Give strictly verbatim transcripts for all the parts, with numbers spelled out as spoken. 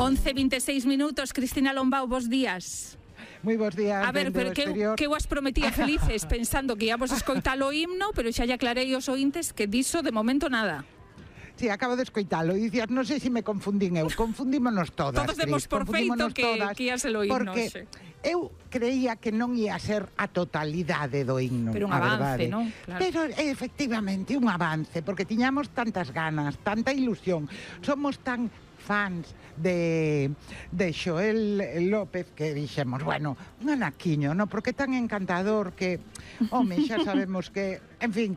once e veintiséis minutos, Cristina Lombao, bos días. Moi bons días. A ver, pero que, que eu as prometía felices pensando que íamos a escoitar o himno, pero xa lle aclarei aos ointes que diso de momento nada. Sí, acabo de escoitalo e dicías, non sei se me confundín eu, confundímonos todas. Todos demos por feito que, que ia ser o himno. Porque xe. eu creía que non ia ser a totalidade do himno. Pero un avance, non? Claro. Pero efectivamente, un avance, porque tiñamos tantas ganas, tanta ilusión, somos tan fans de, de Xoel López que dixemos, bueno, un anaquiño, no? Porque é tan encantador que, home, xa sabemos que, en fin,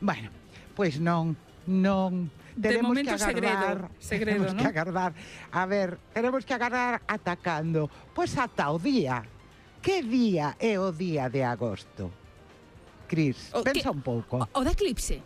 bueno, pois non, non, tenemos que agardar, segredo, segredo, tenemos ¿no? que agardar, a ver, tenemos que agardar atacando, pois ata o día, que día é o día de agosto? Cris, o pensa que, un pouco. O, o da eclipse.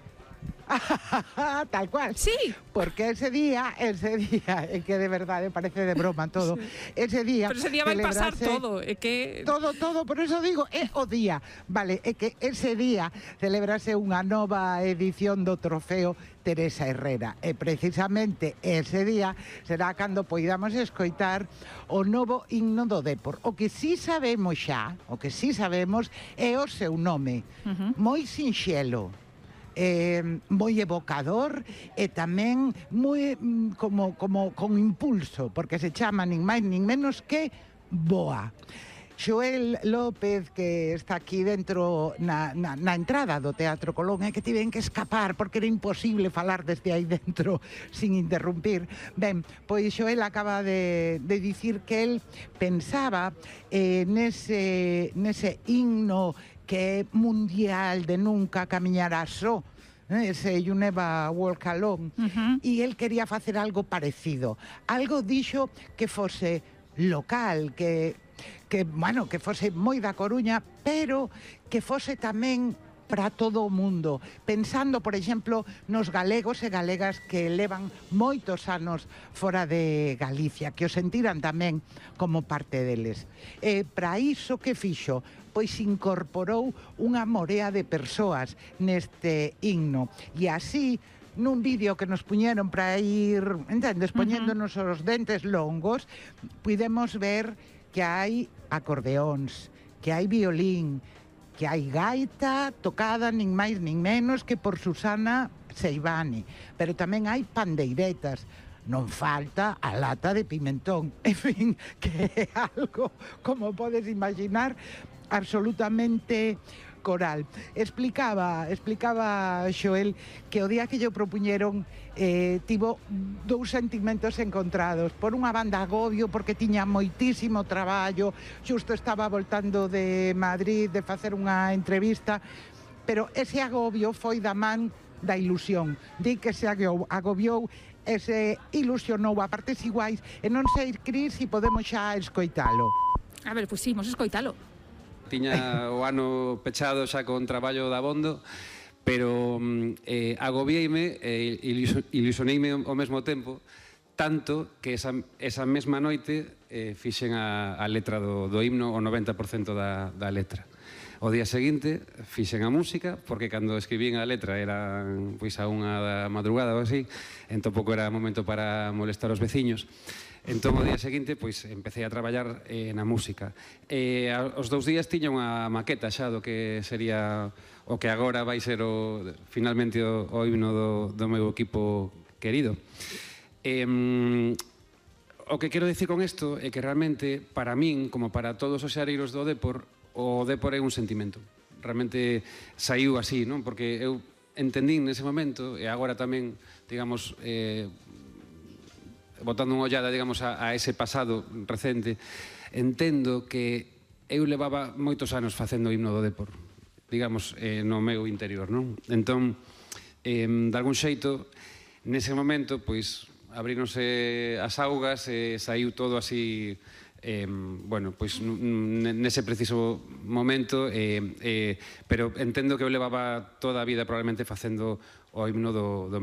Tal cual. Sí. Porque ese día, ese día, é que de verdade parece de broma todo. Sí. Ese día. Pero ese día vai pasar todo, é que todo, todo, por eso digo, é o día. Vale, é que ese día celebrase unha nova edición do trofeo Teresa Herrera. E precisamente ese día será cando poidamos escoitar o novo himno do Dépor. O que sí sabemos xa, o que sí sabemos é o seu nome. Uh-huh. Moi sinxelo. Eh, moi evocador e tamén moi como, como con impulso, porque se chama nin máis nin menos que Boa. Xoel López, que está aquí dentro na, na, na entrada do Teatro Colón, é que tiven que escapar porque era imposible falar desde aí dentro sin interrumpir. Ben, pois Xoel acaba de, de dicir que el pensaba eh, nese, nese himno que é mundial de nunca camiñará só, ese You Never Walk Alone, uh-huh. E el quería facer algo parecido, algo dixo que fose local, que, que, bueno, que fose moi da Coruña, pero que fose tamén para todo o mundo, pensando, por exemplo, nos galegos e galegas que levan moitos anos fora de Galicia, que o sentiran tamén como parte deles. E para iso que fixo? Pois incorporou unha morea de persoas neste himno. E así, nun vídeo que nos puñeron para ir, entendes, poñéndonos uh-huh. os dentes longos, pudemos ver que hai acordeóns, que hai violín, que hai gaita tocada nin máis nin menos que por Susana Seivane, pero tamén hai pandeiretas, non falta a lata de pimentón, en fin, que é algo, como podes imaginar, absolutamente coral. Explicaba, explicaba Xoel que o día que lle propuñeron eh, tivo dous sentimentos encontrados. Por unha banda agobio porque tiña moitísimo traballo, xusto estaba voltando de Madrid de facer unha entrevista, pero ese agobio foi da man da ilusión. Di que se agobiou e se ilusionou a partes iguais e non sei, Cris, se podemos xa escoitalo. A ver, pois pues sí, imos escoitalo. Tiña o ano pechado xa con traballo de abondo, pero eh, agobiei-me e eh, ilusioneime ao mesmo tempo, tanto que esa, esa mesma noite eh, fixen a, a letra do, do himno, o noventa por cento da, da letra. O día seguinte fixen a música, porque cando escribín a letra era pois a unha da madrugada ou así, entón pouco era momento para molestar os veciños. Entón, o día seguinte, pois, empecé a traballar eh, na música. E aos dous días tiña unha maqueta xa do que sería o que agora vai ser o, finalmente o, o himno do, do meu equipo querido. E, o que quero dicir con isto é que realmente, para min, como para todos os xareiros do Dépor, o Dépor é un sentimento. Realmente saiu así, non? Porque eu entendín nese momento, e agora tamén, digamos, eh, botando unha ollada, digamos, a, a ese pasado recente, entendo que eu levaba moitos anos facendo o himno do Dépor, digamos, eh, no meu interior, non? Entón, eh, de algún xeito, nese momento, pois, abríronse as augas e saiu todo así, eh, bueno, pois, nese preciso momento, eh, eh, pero entendo que eu levaba toda a vida probablemente facendo o himno do, do